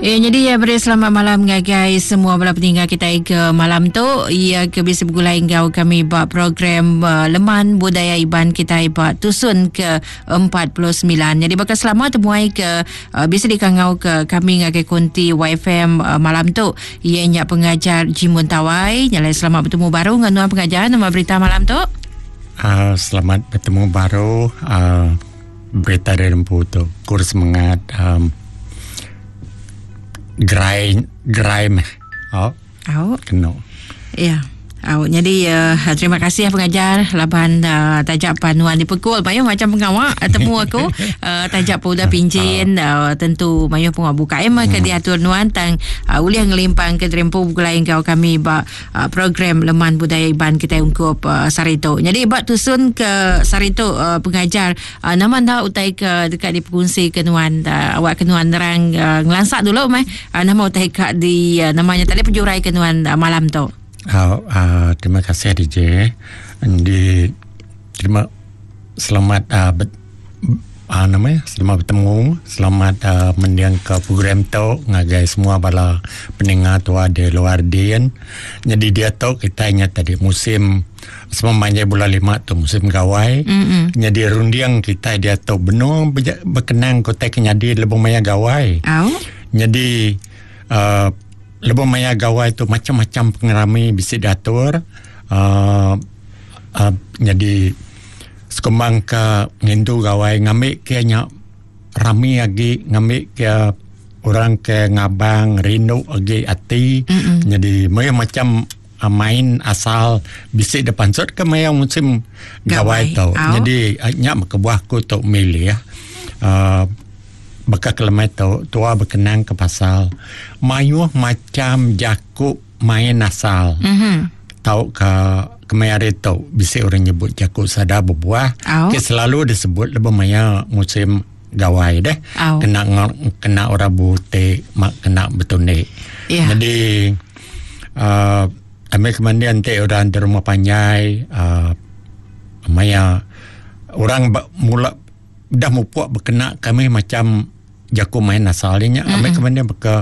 Ya, jadi ya beri selamat malam ngagai semua bala peninggal kita ke malam tu. Ya ke bisa bergulai enggau kami ba program uh, Leman Budaya Iban kita ba tusun ke 49. Jadi bakal selama temuai ke uh, bisa dikangau ke kami ngagai konti YFM uh, malam tu. Iya nya pengajar Jimun Tawai. Nyalai selamat bertemu baru dengan nuan pengajar nama berita malam tu. Uh, selamat bertemu baru uh, berita dari Lempu tu. Kur semangat um, gerai gerai meh. Oh. Oh. Kena. Ya. Au, jadi uh, terima kasih ya pengajar laban uh, tajak panuan dipekul mayuh macam pengawa eh, temu aku uh, tajak pun udah pincin uh, tentu mayuh pengawa buka emang ke diatur nuan tang uh, ulih ngelimpang ke terempu begulai enggau kami ba uh, program Leman Budaya Iban kita ungkup uh, sehari tu. Jadi ba tusun ke sehari tu uh, pengajar uh, nama enda utai ke dekat dipekongsi ke nuan uh, awak ke nuan nerang uh, ngelansak dulu meh uh, nama utai ka di uh, namanya tadi pejurai ke nuan uh, malam tu. Uh, uh, terima kasih DJ. Di terima selamat uh, bet, uh, namanya selamat bertemu, selamat uh, mendiang ke program tu ngagai semua bala pendengar tua di luar din. Jadi dia tu kita ingat tadi musim semua manjai bulan lima tu musim gawai. Mm-hmm. Jadi rundiang kita dia tu benung berkenang kota kenyadi lebuh maya gawai. Au. Jadi uh, Lebuh maya gawai tu macam-macam pengerami bisi diatur uhh uhh nyadi sekumbang ka ngintu gawai ngambi ke nya rami agi ngambi ke orang ke ngabang rindu agi ati nyadi mayuh macam main asal bisi da pansut ke maya musim gawai tu. Nyadi nya meh kebuah aku tu milih uhh Baka ke lemai tu, tua bekenang ke pasal mayuh macham jaku main asal tauka kemaya hari tu bisi orang nyebut jaku sada bebuah ke selalu disebut lebuh maya musim gawai deh kena kena orang buti kena betundi. Jadi uhh ambi ke mandi enti orang di rumah panjai uhh maya orang mula Udah mupuk bekena kami macam jaku main asal nya mm-hmm. ambil ke mana beka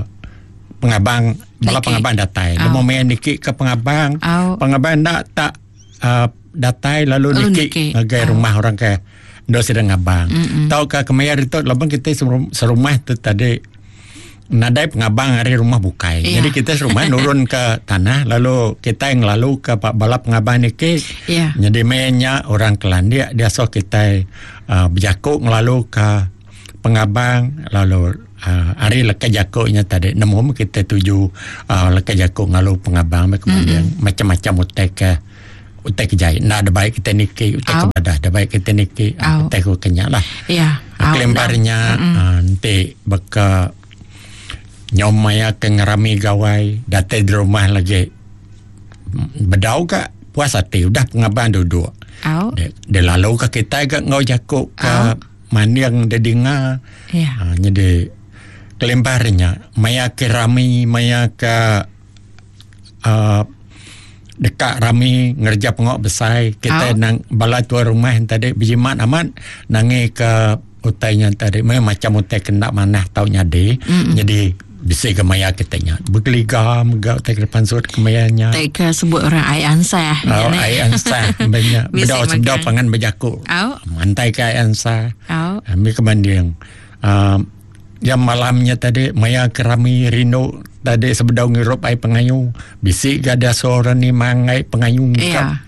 pengabang bala pengabang datai oh. Lema main niki ke pengabang oh. pengabang ndak tak uh, datai lalu oh, niki ngagai oh. rumah orang ke ndo sedang ngabang mm-hmm. tau ke kemaya itu laban kita serumah tu tadi nadai pengabang ari rumah bukai. Yeah. Jadi kita serumah nurun ke tanah lalu kita yang lalu ke bala pengabang niki. Yeah. Jadi mainnya orang kelandik dia so kita uh, berjakuk ngelalu ke pengabang lalu uh, ari leka jakuknya tadi nemu kita tuju uh, leka jakuk ngalu pengabang kemudian mm-hmm. macam-macam utai ke utai ke jai enda ada baik kita niki utai ke badah ada baik kita niki utai ke kenya lah ya kelembarnya enti baka nyau maya ke ngerami gawai datai di rumah lagi bedau ka puas ati udah pengabang duduk dia lalu ka kitai ga enggau jaku ka manding dia dinga ya nyadi kelembarnya maya ke rami maya ke uhh deka rami ngereja pengawa besai kitai nang bala tuai rumah tadi bejimat amat nangi ke utai nya tadi meh macam utai ke enda manah tau nyadi jadi bisi ga maya kitai nya begeliga mega utai ke pansut ke maya nya. Utai ke sebut orang ai ansah. Oh, ai ansah nya bedau sebedau pangan bejaku mantai ke ai ansah. Ambi ke banding uhh Jam malam nya tadi maya ke rami rindu tadi sebedau ngirup ai pengayu bisi ga diasuh orang nimang ai pengayu yeah.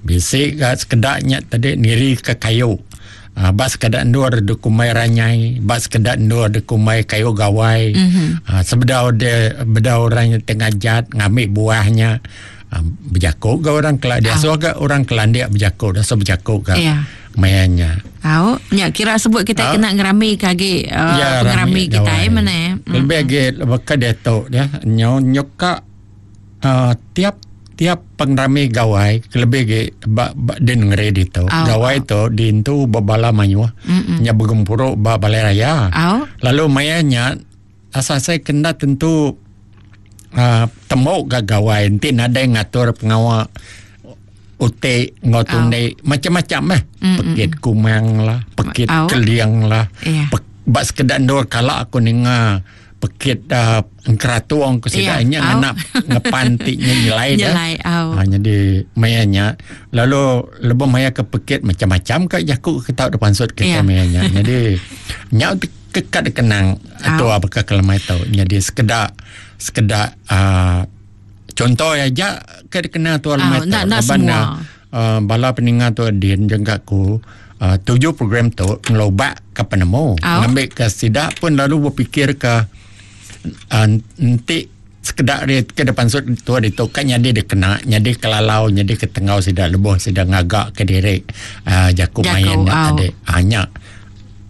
Bisi ga sekeda nya tadi niri ke kayu uh, ba sekeda endur dikumbai ranyai ba sekeda endur dikumbai kayu gawai mm -hmm. uh, sebedau dia bedau orang nya ngajat ngambi buah nya uh, bejaku ga orang kela diasuh ga orang kelandik bejaku diasuh bejaku ga yeah. Maya nya. Au, nya kira sebut kita kena ngerami ke agi uh, ya, pengerami kita eh mana eh. Lebih agi baka diatu ya nyo nyuka uh, tiap tiap pengerami gawai kelebih agi ba, ba di nengeri ditu. Au, gawai au. tu dintu bebala mayuh nya begempuru ba balai raya. Au. Lalu maya nya asal saya kena tentu uh, temu ga gawai enti nadai ngatur pengawa uti enggau tundi macam-macam meh pekit kumang lah pekit keling lah Iya. ba sekeda endur kala aku ninga. pekit uh, engkeratung ku sida yeah. nya ngena ngepan ti nya nyelai dah. Nyelai au. Ha, jadi maya nya lalu lebuh maya ke pekit macam-macam ka jaku ke tau dipansut ke yeah. maya nya. Jadi nya kekat dikenang atau apa ke kelemai tau. Jadi sekeda sekeda uh, contoh aja ke dikenang tu lemai tau. Laban uh, bala peninga tu din jengka ku uh, tuju program tu ngelobak ke penemu oh. ngambil ke sida pun lalu berfikir ke uh, enti sekeda dia ke depan sut tua ditu kan nyadi dia kena nyadi kelalau nyadi ke tengau sida lebuh sida ngaga ke diri uh, jaku, jaku main oh. tadi hanya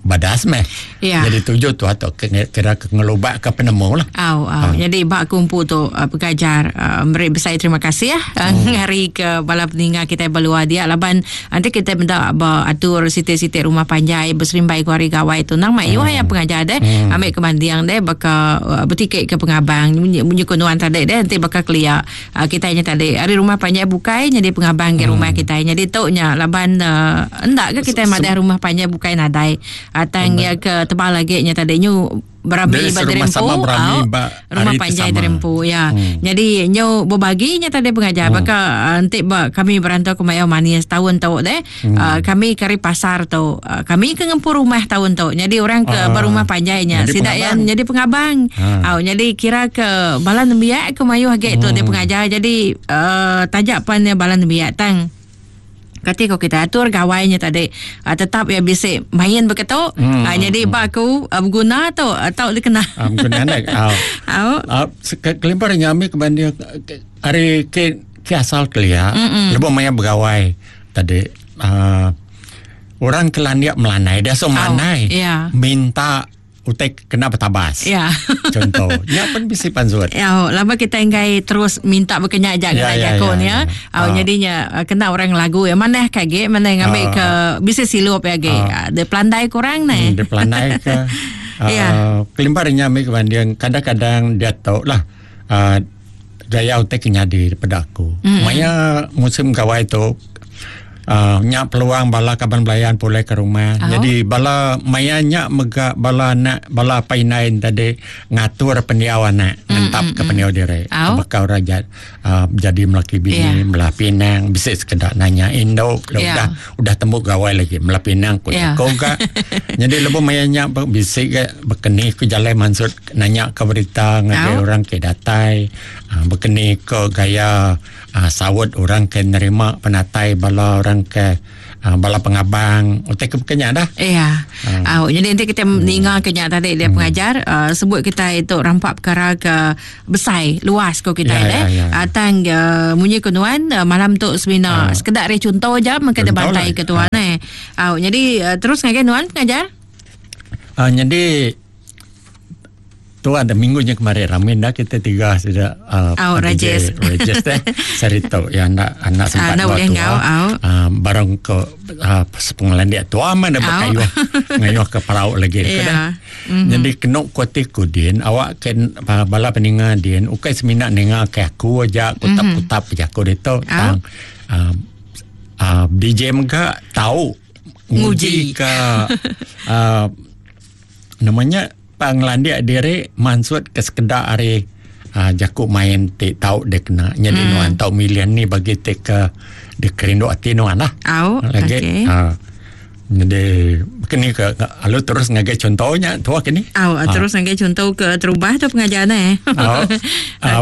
badas meh. Ya. Jadi tuju tu atau kira ke ngelubak ke penemu lah. Au, au. Ha. Jadi bak kumpu tu uh, pengajar uh, beri besai terima kasih ya uh, hmm. hari ke bala peninga kita berluar dia laban nanti kita minta ba atur siti-siti rumah panjai berserimbai ku hari gawai tu nang mai hmm. ya pengajar deh hmm. ambil ke mandiang deh baka uh, bertikik ke pengabang munyi munyi ku nuan tadi deh nanti baka kelia uh, kita nya tadi ari rumah panjai bukai nyadi pengabang ke rumah hmm. kita nyadi tu nya laban uh, endak ke kita madah rumah panjai bukai nadai uh, tang ya ke tebal lagi nya tadi nyu berami ba diri empu au rumah panjai diri empu ya hmm. jadi nyu berbagi nya tadi pengajar hmm. baka enti ba kami berantau ke Mayau Manis tahun tu deh hmm. uh, kami kari pasar tu uh, kami ke ngempu rumah tahun tu jadi orang ke uh, berumah panjai nya sida yang jadi pengabang uh. Au jadi kira ke bala nembiak ke mayuh agi tu hmm. dia pengajar jadi uh, tajak pan dia bala nembiak tang kati ko kita atur gawai nya tadi uh, tetap ya bisi main begitu hmm. uh, jadi ba aku uh, berguna tu uh, tau dikena uh, berguna nek au au uh, kelimpah nyami ke banding ari ke ke asal kelia lebuh maya begawai tadi uh, orang ke landik melanai dia so melanai oh, yeah. minta utai kena bertabas. Ya. Contoh. Ya pun bisi pansut. Ya, lama kita enggai terus minta berkenyak aja kena ya, jako ni ya. ya. Oh, jadinya kena orang lagu ya mana kage mana ngambil ke bisi silup ya ge. Uh, dia pelandai kurang ni. Hmm, dia pelandai ke. Uh, ya. Kelimpah nya ambil kebanding kadang-kadang dia tahu lah uh, gaya utai ke nyadi daripada aku. Mm. Maya musim gawai tu uh, nyak peluang bala kaban belayan pulai ke rumah. Oh. Jadi bala maya nyak mega bala anak bala apai indai tadi ngatur pendiau anak, mm, ngentap ke pendiau diri. Oh. Bakal raja uh, jadi melaki bini, yeah. melah pinang, bisa sekedar nanya induk, yeah. udah udah tembuk gawai lagi melah pinang ku yeah. ko ga. Jadi lebuh maya nyak bisi ke bekeni ku jalai mansut nanya ke berita ngagai oh. orang ke datai uh, bekeni ke gaya uh, sawut orang ke nerima penatai bala orang ke uh, bala pengabang utai ke bekenya dah. Iya. Uh. Uh, jadi nanti kita hmm. ninga kenya tadi dia hmm. pengajar uh, sebut kita itu rampak perkara ke besai luas ko kita ya, deh. Ya, ya. Uh, tang uh, munyi ke nuan uh, malam tu semina uh, sekedar re contoh je mengke bantai ke tuan lah. eh. Uh, jadi uh, terus ngagai nuan pengajar. Uh, jadi tu ada minggunya kemarin ramin dah kita tiga sudah uh, oh, Rajes Rajes deh cerita ya anak anak sempat uh, tua tua uh, barang ke uh, sepengelan dia tua mana berkayuh ngayuh ke perahu lagi yeah. dah mm-hmm. jadi kena kuati kudin awak ke uh, bala peninga din ukai semina ninga ke aku aja kutap-kutap mm-hmm. aku dia tu tang uh, uh, DJ mega tahu nguji ke uh, namanya panglandik diri mansut ke sekedar hari uh, jaku main ti tau dia kena jadi hmm. nuan tau milian ni bagi ti ke dia kerindu hati nuan lah au lagi okay. uh, jadi kini ke lalu terus ngagai contohnya tua kini au ha. terus ngagai contoh ke terubah tu pengajaran eh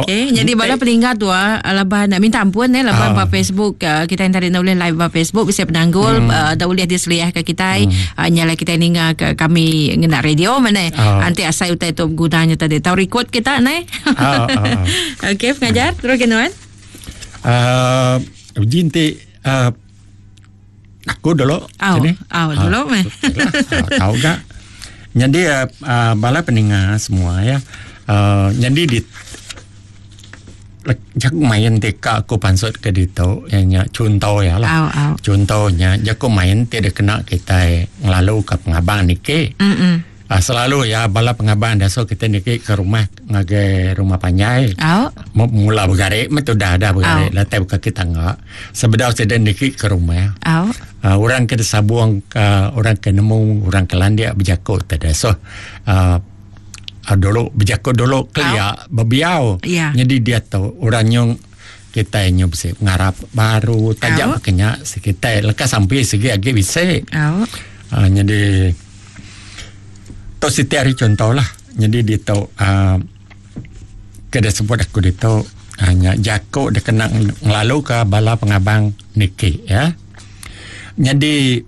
okey jadi bala peninggal tu laban nak minta ampun eh laban ba Facebook uh, kita yang tadi nak boleh live ba Facebook bisa penanggul hmm. uh, dah boleh diseliah ke kita hmm. uh, nyala kita ninga ke kami ngena radio mana nanti asai utai tu gunanya tadi tahu record kita ne okey pengajar terus ke nuan uh, uji nanti uh, aku dulu au au dulu meh tahu gak jadi uh, bala peninga semua ya uh, jadi di jaku main teka aku pansut ke ditu ya nya contoh ya lah au, au. contohnya jaku main tidak kena kita ngelalu ke pengabang niki mm -mm. Uh, selalu ya bala pengabang dah so kita niki ke rumah ngagai rumah panjai. Oh. Mula bergarik metu dah dah bergarik. Oh. Latai buka kita enggak. Sebedau saya niki ke rumah. Oh. Uh, orang ke sabuang uh, orang ke nemu orang ke landia berjakut tak ada. So uh, Dulu bejaku dulu kelia bebiau. Nyadi diatu orang nyung kitai nyu bisi pengarap baru taja baka nya kitai leka sampi sigi agi bisi. Aaa nyadi tu siti ari chunto lah nyadi ditu aaa ke disebut aku ditu aaa nya jaku dikena ngelaluka bala pengabang niki ya. Nyadi.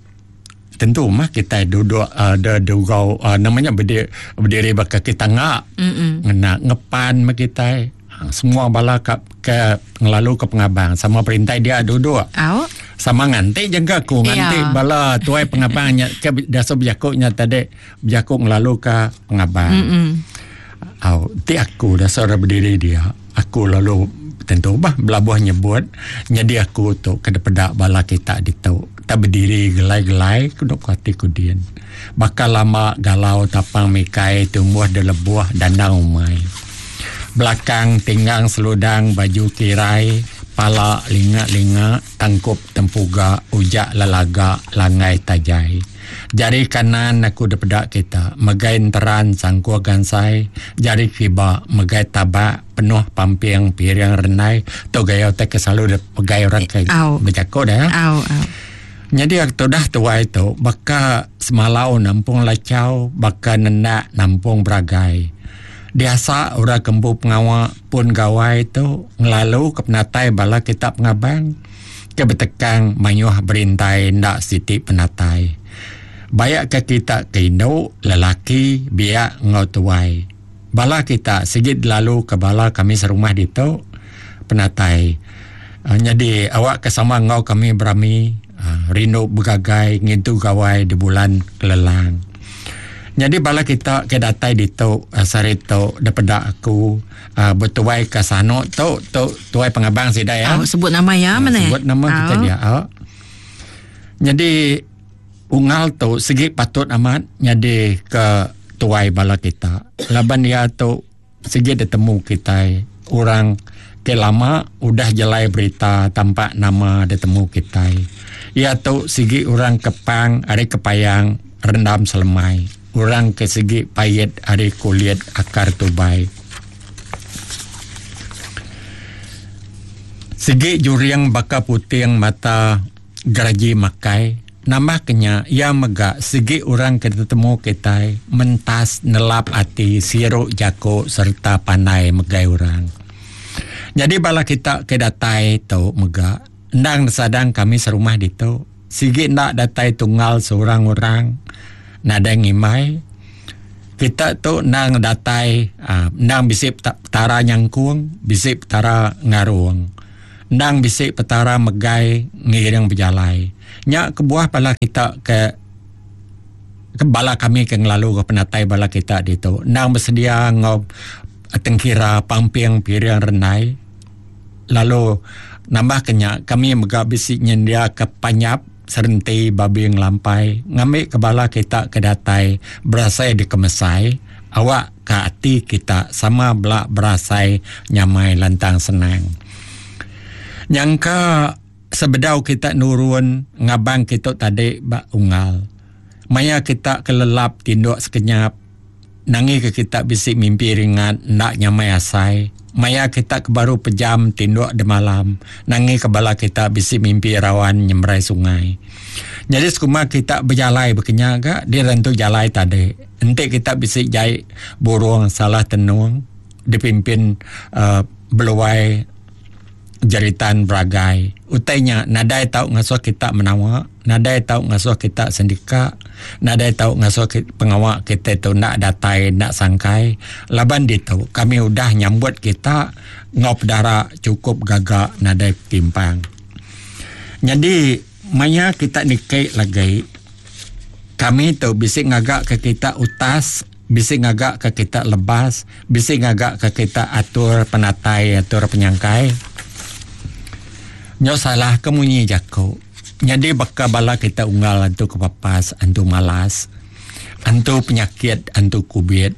Tentu mah kitai duduk uh, de dugau uh, nama nya berdiri, berdiri ba kaki tangga mm ngena ngepan mah kitai. Ha, semua bala ka ke ngelalu ke pengabang sama perintai dia duduk. Au. Sama nganti jengka aku nganti yeah. bala tuai pengabang nya ke biasa bejaku nya tadi bejaku ngelalu ke pengabang. Mm Au, ti aku dasar berdiri dia, aku lalu tentu bah belabuh nyebut nyadi aku tu ke dipeda bala kita ditu tak bediri gelai-gelai ku dok ati ku din. Baka lama galau tapang mikai tumbuh di lebuh dandang umai. Belakang tinggang seludang baju kirai pala linga-linga tangkup tempuga ujak lelaga langgai tajai. Jari kanan aku dipeda kita megai enteran sangkuh gansai, jari kiba megai tabak penuh pamping piring rendai. Tu gaya utai ke selalu dipegai orang ke bejaku dah. Au au. Nyadi aku tudah tuai tu baka semalau nampung lachau baka nendak nampung beragai. Diasa orang ke empu pengawa pun gawai tu ngelalu ke penatai bala kita pengabang. Ke betekang mayuh berintai enda siti penatai. Bayak ke kita ke indu, lelaki, biak enggau tuai. Bala kita sigi delalu ke bala kami serumah ditu penatai. Nyadi awak ke sama enggau kami berami rindu begagai ngintu gawai di bulan kelelang. Nyadi bala kita ke datai ditu sehari tu depeda aku betuai ke sanu tu tu tuai pengabang sida ya. Oh, sebut nama ya mana? Sebut nama uh. kita dia. Oh. Jadi ungal tu segi patut amat nyadi ke tuai bala kita. Laban dia tu segi ditemu kitai orang ke lama udah jelai berita tampak nama ditemu kitai. Ia tu sigi orang kepang ari kepayang rendam selemai. Orang ke sigi pait ari kulit akar tubai. Sigi juring baka puting mata geraji makai. Nambah ke nya, iya mega sigi orang ke tetemu kitai mentas nelap ati siru jaku sereta pandai megai orang. Nyadi bala kita ke datai tu mega endang disadang kami serumah ditu. Sigi enda datai tunggal seorang orang nadai ngimbai. Kita tu endang datai aaa endang bisi petara nyangkung, bisi petara ngarung. Endang bisi petara megai ngiring bejalai. Nya kebuah bala kita ke bala kami ke ngelalu ke penatai bala kita ditu endang besedia enggau tengkira pamping piring rendai. Lalu nambahka nya kami mega bisi nyendiaka panyap serenti babi ngelampai ngambika bala kita ke datai berasai dikemesai awakka ati kita sama bela berasai nyamai lantang senang. Nyangka sebedau kita nurun ngabang kitu tadi ba unggal maya kita ke lelap tinduk sekenyap Nangika kita bisi mimpi ringat enda nyamai asai. Maya kita ke baru pejam tinduk demalam, nangika bala kita bisi mimpi rawan nyemerai sungai. Nyadi sekuma kita bejalai bekenya ga di rentu jalai tadi. Enti kita bisi jai burung salah tenung dipimpin uhh beluai jeritan beragai. Utai nya nadai tau ngasuh kita menawa, nadai tau ngasuh kita sendika, nadai tau ngasuh pengawa kita tu enda datai enda sangkai laban ditu kami udah nyambut kita enggau pedara chukup gaga nadai timpang. Nyadi maya kita niki lagi kami tu bisi ngaga ke kita utas Bisi ngaga ka kita lebas, bisi ngaga ka kita atur penatai atur penyangkai. Nyau salah ke munyi jaku. Nyadi baka bala kita unggal antu kepapas, antu malas, antu penyakit, antu kubit.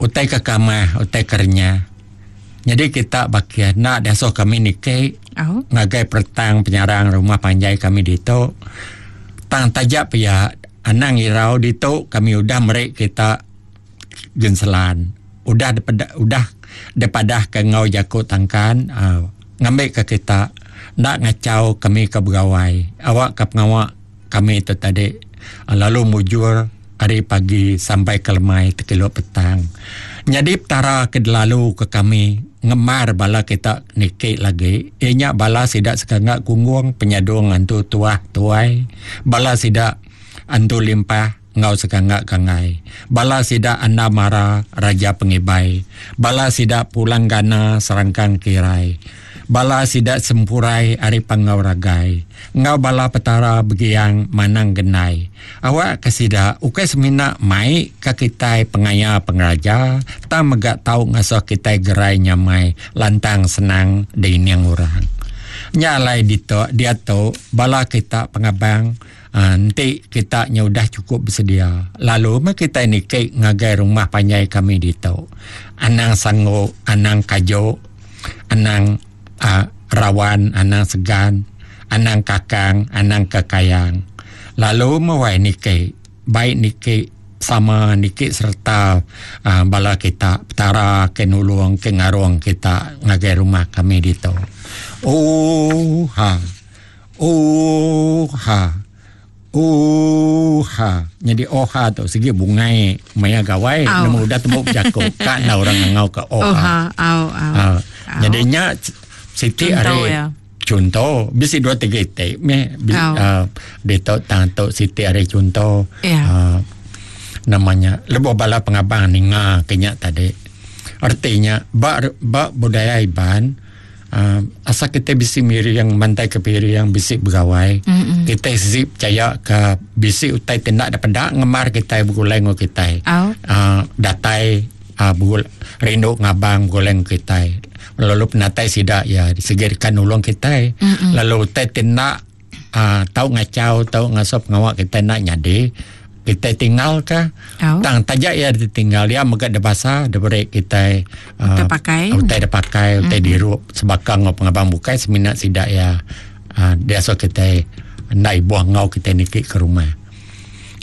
Utai ke kamah, utai ke renyah. Nyadi kita bakih enda diasuh kami niki ngagai peretang penyarang rumah panjai kami ditu. Tang taja pia anang irau ditu kami udah meri kita. genselan udah dipeda udah dipadahka enggau jaku tangkan uhh ngambika kita enda ngachau kami ke begawai awakka pengawa kami tu tadi lalu mujur ari pagi sampai ke lemai tekilu petang. Nyadi petara ke delalu ke kami ngemar bala kita niki lagi iya nya bala sida sekanga kunggung penyadung antu tuah tuai bala sida antu limpah enggau sekanga kangai. Bala sida anda mara raja pengibai. Bala sida pulang gana serangkang kirai. Bala sida sempurai ari panggau ragai. Enggau bala petara begiang manang gendai. Awak ke sida ukai semina mai ka kitai pengaya pengeraja tang mega tau ngasuh kitai gerai nyamai lantang senang diining orang. Nya alai ditu diatu bala kita pengabang Enti kita nya udah chukup besedia, lalu meh kitai niki ngagai rumah panjai kami ditu. Anang sanggu, anang kaju, anang uhh rawan, anang segan, anang kakang, anang kekayang. Lalu meh wai niki, bai niki sama niki sereta uhh bala kita petara ke nulung ke ngarung kita ngagai rumah kami ditu. Ooha. Ooha. Ooha. Nyadi oha tu sigi bungai maya gawai oh. nemu udah temu bejaku ka enda orang ngangau ke oha. Oha. Au au. Uh, nyadi nya siti ari ya. Contoh bisi dua tiga iti meh oh. uh, ditu tang tu siti ari contoh yeah. uh, namanya lebuh bala pengabang ninga ke nya tadi artinya ba ba budaya Iban Asal kitai bisi miring mantai ke piring bisi begawai mm-hmm. kitai sigi percaya ke bisi utai ti enda dipeda ngemar kitai begulai enggau kitai oh. Datai begul rindu ngabang begulai enggau kitai lalu penatai sida iya sigi deka nulung kitai mm-hmm. lalu utai ti enda Tau ngachau tau ngasuh pengawa kitai enda nyadi kitai tinggal ka oh. tang taja iya ditinggal iya mega dibasa diberi kitai utai pakai utai dipakai utai mm. dirup sebaka enggau pengabang bukai semina sida iya uh, diasuh kitai enda ibuh enggau kitai niki ke rumah.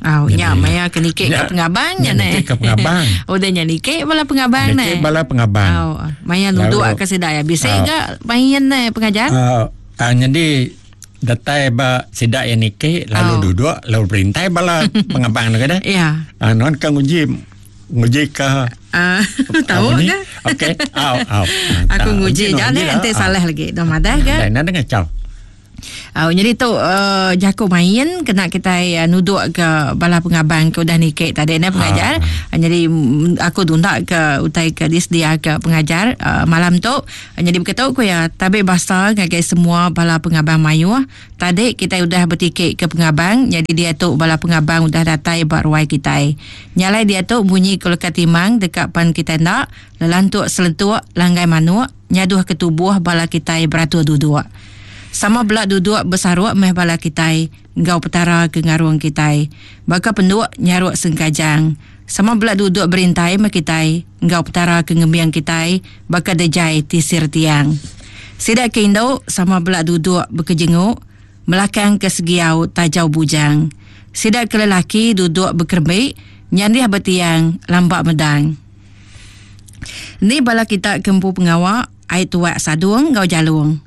Oh, nya maya ke niki ke pengabang nya neh. Niki ke pengabang. Udah nya niki bala pengabang neh. Niki bala pengabang. Oh, maya nuduk ke sida ya. Bisi ga main neh pengajar. Uh, nyadi datai ba sida iya niki lalu oh. duduk lalu berintai bala pengabang tu kada. Ya. Nuan ka nguji nguji ka tau ke? Okey. Au au. Aku nguji ja ne enti salah lagi. Dah madah ga. Dah nang ngacau. Au nyadi tu uh, jaku main kena kitai uh, nuduk ke bala pengabang ke udah niki tadi ne pengajar. Ah. Uh, nyadi aku tunda ke utai ke disedia ke pengajar uh, malam tu. Nyadi beketu ku iya, tabi basa ngagai semua bala pengabang mayuh. Tadi kitai udah betiki ke pengabang, nyadi diatu bala pengabang udah datai ba ruai kitai. Nya alai diatu munyi ku leka timang deka pan kitai enda, lelantuk selentuk, langgai manuk, nyaduh ke tubuh bala kitai beratur duduk. Sama bela duduk besaruk meh bala kitai enggau Petara ke ngarung kitai. Baka penduk nyaruk sengkajang. Sama bela duduk berintai meh kitai enggau Petara ke ngembing kitai baka dejai tisir tiang. Sida ke indu sama bela duduk bekejenguk melakang ke segiau tajau bujang. Sida ke lelaki duduk bekerembi nyandih betiang lamba medang. Ni bala kita ke empu pengawa ai tuak sadung enggau jalung.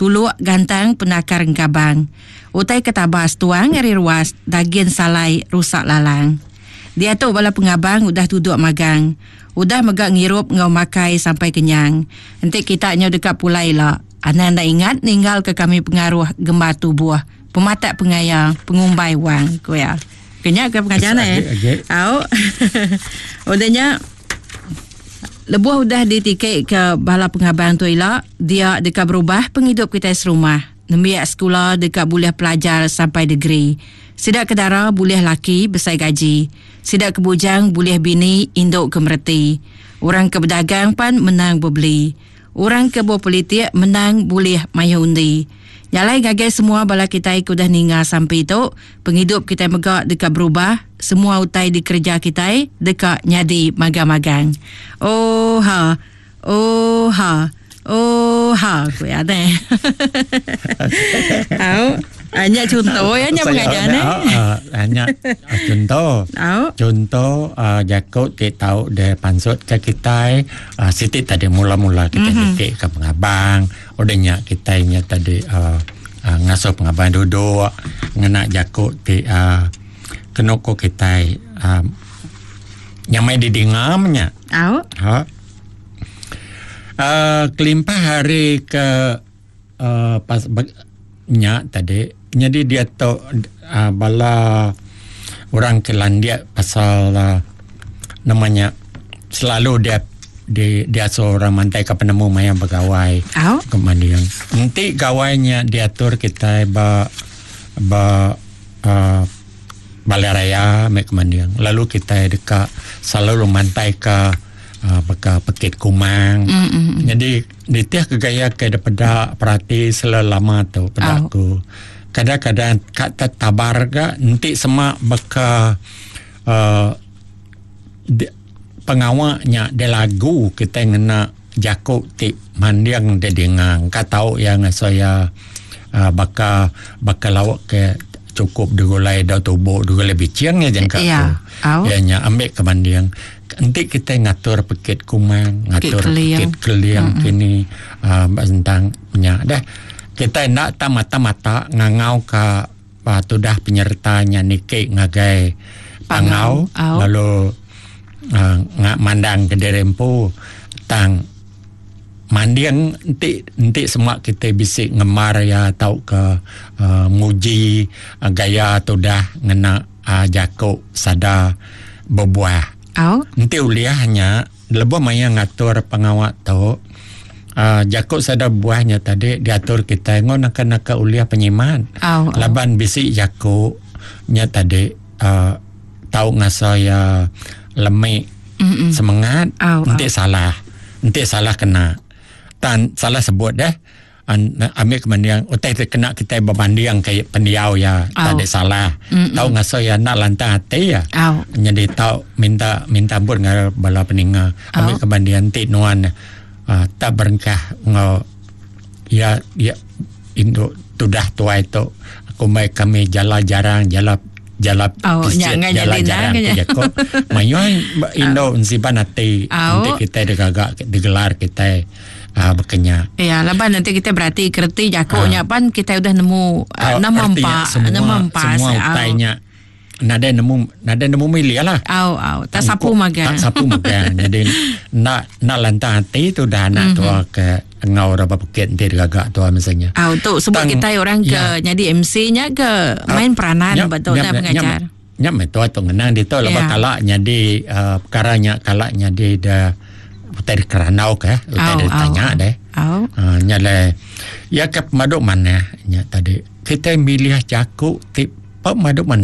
Tuluk gantang penakar engkabang. Utai ke tabas tuang ari ruas dagin salai rusak lalang. Diatu bala pengabang udah tuduk magang. Udah mega ngirup enggau makai sampai kenyang. Enti kita nyau deka pulai ila, anang enda ingat ninggalka kami pengaruh gembar tubuh, pematak pengaya, pengumbai wang, ku iya. Ke nya ke pengajar neh. Au. Udah nya Lebuh udah ditiki ke bala pengabang tu ila, dia deka berubah pengidup kitai serumah. Nembiak sekula deka bulih pelajar sampai degree. Sida ke dara bulih laki besai gaji. Sida ke bujang bulih bini indu ke mereti. Orang ke bedagang pan menang bebeli. Orang ke bepolitik menang bulih mayuh undi. Nya alai ngagai semua bala kitai ke udah ninga sampi tu, pengidup kitai mega deka berubah, semua utai dikereja kitai deka nyadi magang-magang. Ooha! Ooha! Ooha! Ku iya deh. Au. Ah, nya chunto ya nya pengajar ne. Ah, nya chunto. Chunto jaku ti tau de pansut ke kitai siti tadi mula-mula kitai mm-hmm. niki ke pengabang, udah nya kitai nya tadi uh, uh, ngasuh pengabang duduk ngena jaku ti uh, kenu ko kitai uh, nyamai didinga nya. Au. Ha. Uh, kelimpah hari ke uh, pas nya tadi nyadi diatu uh, bala orang ke landik pasal uh, nama nya selalu dia di diasuh orang mantai ke penemu maya begawai oh. ke manding. Enti gawai nya diatur kitai ba ba uh, balai raya mek manding. Lalu kitai deka selalu mantai ke uh, baka pekit kumang. Mm-mm. Jadi nitih ke gaya ke daripada perati selama tu peda aku. Kadang-kadang kat tabar ga enti semak baka uh, pengawa nya de lagu kita ngena jaku ti manding de dingang ka tau yang saya uh, baka baka lawak ke cukup digulai dau tubuh digulai bicing ya jangka ya. tu. Ya nya ambil ke banding enti kita ngatur pekit kumang ngatur pekit keliang mm-hmm. kini uh, tentang nya dah kita nak tak mata-mata ngangau ka uh, tudah penyertanya niki ngagai pangau, Pangau. lalu uh, ngak mandang ke diri empu tang manding enti enti semua kita bisi ngemar ya tau ke uh, muji uh, gaya tudah ngena uh, jaku sada berbuah. Au. Enti uliahnya lebuh maya ngatur pengawa tu uh, jaku sada buahnya tadi diatur kita ngon naka-naka uliah penyiman. Au. Laban bisi jaku nya tadi uh, tau ngasa ya lemik Mm-mm. semangat Au, enti salah enti salah kena tan salah sebut deh an, ambil kemandiang utai kena kita berbanding ke pendiau ya Au. tak ada salah Mm-mm. tau ngasa ya nak lantang hati ya Au. jadi tau minta minta ampun dengan bala peninga ambil Au. kemandian ti nuan uh, tak berengkah ngau ya ya induk tudah tuai tu aku mai kami jala jarang jala jala Oh, pisit, nya ngan jala jadi jarang nang ke nya. jako mayu indo ensiban hati Au. nanti kita digagak digelar kita uh, berkenya Ya, laban nanti kita berarti kerti jakunya pan kita udah nemu uh, nama artinya empat, semua, nama empat. semua utainya nadai nemu nadai nemu milih lah Au, au, tak sapu magang. tak sapu magang jadi nak nak lantang hati tu dah anak tua ke ngau dah berpekit nanti digagak tua misalnya Au, tu sebab Tang- kita orang ke ya. jadi MC-nya ke main peranan betul dah pengajar. Nya me tua tu ngenang dia tu lepas Ya. kalak nyadi uh, perkara nya kalak nyadi dah utai dikeranau ke utai Au, ditanya au. deh. Au. Uh, nya le ya ke pemaduk mana nya tadi kita milih jaku ti pemaduk mana.